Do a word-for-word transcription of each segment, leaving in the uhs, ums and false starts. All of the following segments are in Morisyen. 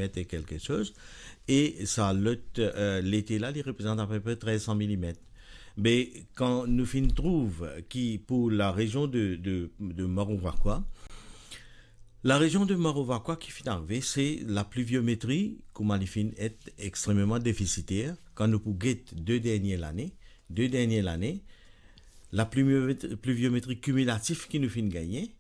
et quelque chose. E sa lot, euh, lete la, li reprezant apepre trez san milimet. Me kan nou finn trouv ki pou la rezion de, de, de Moro Vacua, la rezion de Moro Vacua ki finn arive, se lapliviometri, kouma li finn et extrememan defisiter. Kan nou pou get de dernie lane, de dernie lane, lapliviometri, pliviometri kimilatif ki nou finn gagne,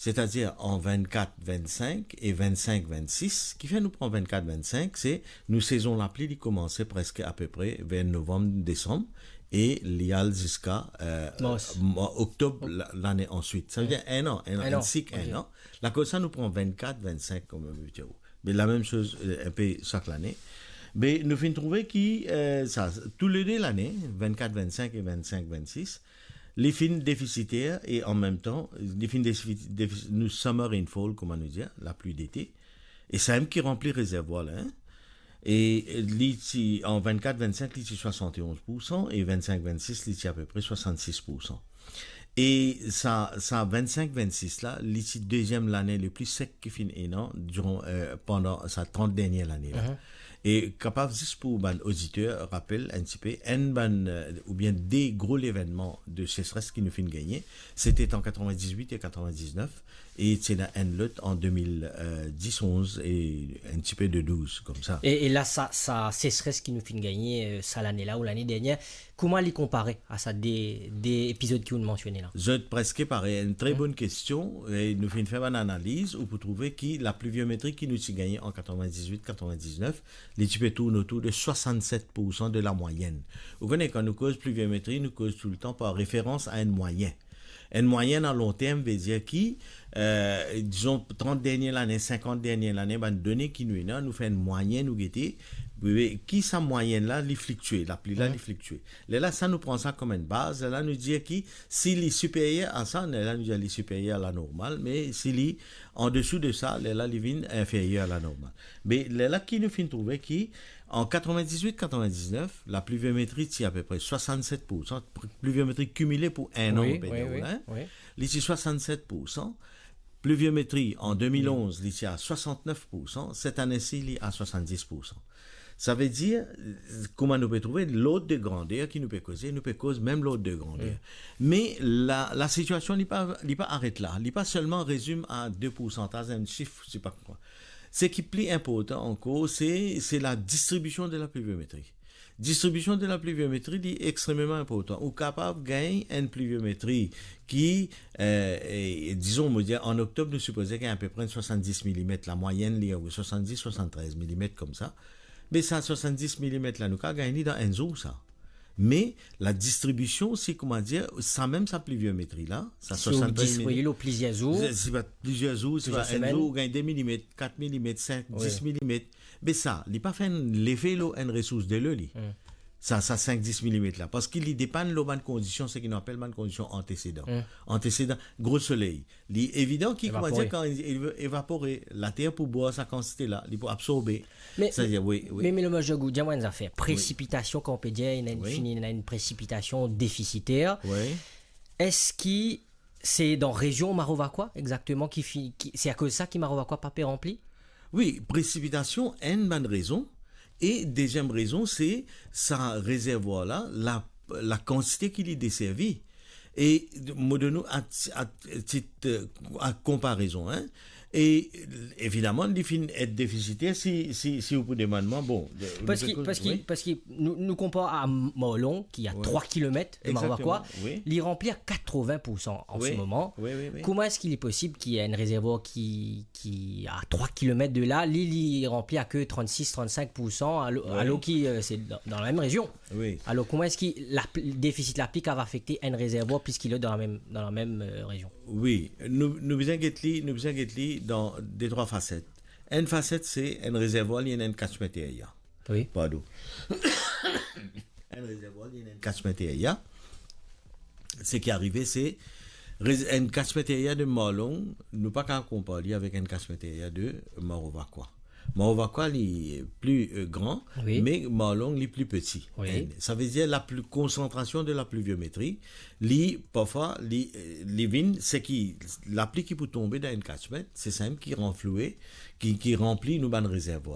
setadir an vennkat vennsink e vennsenk vennsis, ki fer nou pran vennkat vennsink, se nou sezon lapli, li koumanse preske apepre ver novanm, desanm, e li al ziska, euh, Mars. Mwa oktob la-, lane answit. Sa ve dir enn an, enn an, Enn an, enn sik, ok. Enn an. Lakoz sa, nou pran vennkat, vennsink kouma, me lamem soz, euh, inpe sak lane. Me nou finn trouve ki, euh, sa, toulede lane, vennkat vennsink e vennsenk vennsis, li finn defisiter e an mem tan, li finn defi-, defi-, nou summer rainfall, kouma nou dir, lapli dete. E samem ki ranpli rezervwar la, hein. E li ti, an vennkat vennsink, li ti swasantonz poursan, e vennsenk vennsis, li ti apepre swasannsis poursan. E sa, sa vennsenk vennsis la, li ti deziem lane le pli sek ki finn ena diran, euh, pandan sa trant dernie lane la. Mhm. E kapav zis pou bann oditer rapel enn tipe, enn bann, euh, oubien de gro levennman de sesres ki nou finn gagne, se ti an katrevindizwit e katrevindinef, e ti ena enn lot an de mil dis, onz e enn tipe de douz, koumsa. E, e la, sa, sa sesres ki nou finn gagne, euh, sa lane la ou lane dernie, kouma li konpare a sa de, de epizod ki ou'nn mansione la? Zot preske parey, enn tre Hmm. Bonn kestion, e nou finn fer bann analiz, ou pou trouve ki lapliviometri ki nou ti gagne an katrevindizwit katrevindinef, li ti pe tourn otour de swasannset poursan de lamwayenn. Ou kone, kan nou koz pliviometri, nou koz toultan par referans a enn mwayenn. Enn mwayenn a lon term ve dir ki, euh, dizon, trant dernie lane, sinkant dernie lane, bann done ki nou ena, nou fer enn mwayenn, nou gete, ki sa mwayenn la, li fliktie, lapli la, Mhm. Li fliktie. Lerla sa, nou pran sa kouma enn baz, lerla nou dir ki si li siperyer a sa, lerla nou dir li siperyer a lanormal, me si li andesou de sa, lerla li vinn inferyer a lanormal. Me lerla ki nou finn trouve ki an katrevindizwit katrevindinef, lapliviometri ti apepre swasannset poursan, pl-, pliviometri kimile pou enn an, Wi, nou pe wi, dir wi, la, hein. Wi. Li ti swasannset poursan. Pliviometri an de mil onz, Wi. Li ti a swasantnef poursan. Set ane si, li a swasanndis poursan. Sa ve dir, kouma nou pe trouve, lord de grander ki nou pe koze, nou pe koz mem lord de grander. Wi. Me la, lasitiasion, li pa, li pa aret la. Li pa selman rezime a de poursantaz, enn sif, se pa kwa. Seki pli inportan ankor, se, se ladistribision de lapliviometri. Distribision de lapliviometri, li extrememan inportan. Ou kapav gagn enn pliviometri ki, euh, e, dizon, mo dir, an oktob, nou sipoze gagn apepre swasannndis milimet, lamwayenn, li, wi, swasannndis, swasanntrez milimet koumsa. Me sa swasannndis milimet la, nou kapav gagn li dan enn zour, sa. Me ladistribision, si, kouma dir, sa mem sa pliviometri la, sa Si ou swasanntrez distribi li lor plizier zour, si, si pa plizier zour, si Plizier pa enn semenn. Zour, ou gagn de milimet, kat milimet, sink, Wi. Dis milimet. Me sa, li pa fer enn lefe lor enn resours delo, li. Hmm. Sa, sa sink, dis milimet la. Parski li depann lor bann kondision, seki nou apel bann kondision antesedan. Hmm. Antesedan, gro soley. Li evidan ki, kouma Evapore. Dir, kan li ev-, evapore, later pou bwar sa kantite la, li pou absorbe. Me, Sa ve dir, wi, wi. Me, me le Mojogou, dir mwa enn zafer. Wi. Presipitasion, kan ou pe dir, ena enn Wi. Fini, ena enn presipitasion defisiter. Wi. Eski se dan rezion Moro Vacua, exakteman, ki fi-, ki, se akoz sa ki Moro Vacua pa pe ranpli? Wi, presipitasion, enn bann rezon. E deziem rezon, se sa rezervwar la, la, lakantite ki li deservi. E mo donn ou a ti-, a tit, euh, a konparezon, hein. E evidaman, li finn et defisiter si, si, si ou pou demann mwa, bon, de, Parski, de parski, wi. Parski nou, nou konpar a Morlong, ki a Wi. Trwa kilomet de Moro Vacua, Exakteman, wi. Li ranpli a katrovin poursan an Wi. Se moman. Wi, wi, wi. Kouma eski li posib ki enn rezervwar ki, ki a trwa kilomet de la, li, li ranpli a ke trannsis, trannsink poursan, alo-, Wi. Alor ki, euh, se dan, dan lamem rezion? Wi. Alor, kouma eski lapl-, defisit lapli kapav afekte enn rezervwar plis ki lot dan lamem, dan lamem, euh, rezion? Wi, nou, nou bizin get li, nou bizin get li dan de trwa faset. Enn faset, se enn rezervwar, li ena enn catchment area. Wi. Pardon. Enn rezervwar, li ena enn catchment area. Seki arive, se rez-, enn catchment area de Morlong, nou pa kapav konpar li avek enn catchment area de Moro Vacua. Moro Vacua, li pli, euh, gran, Wi. Me Morlong, li pli peti. Wi. Enn. Sa ve dir, lapli-, konsantrasion de lapliviometri, li, parfwa, li, euh, li vinn, seki, lapli ki pou tonbe dan enn catchment, se samem ki ranfloue, ki, ki ranpli nou bann rezervwar.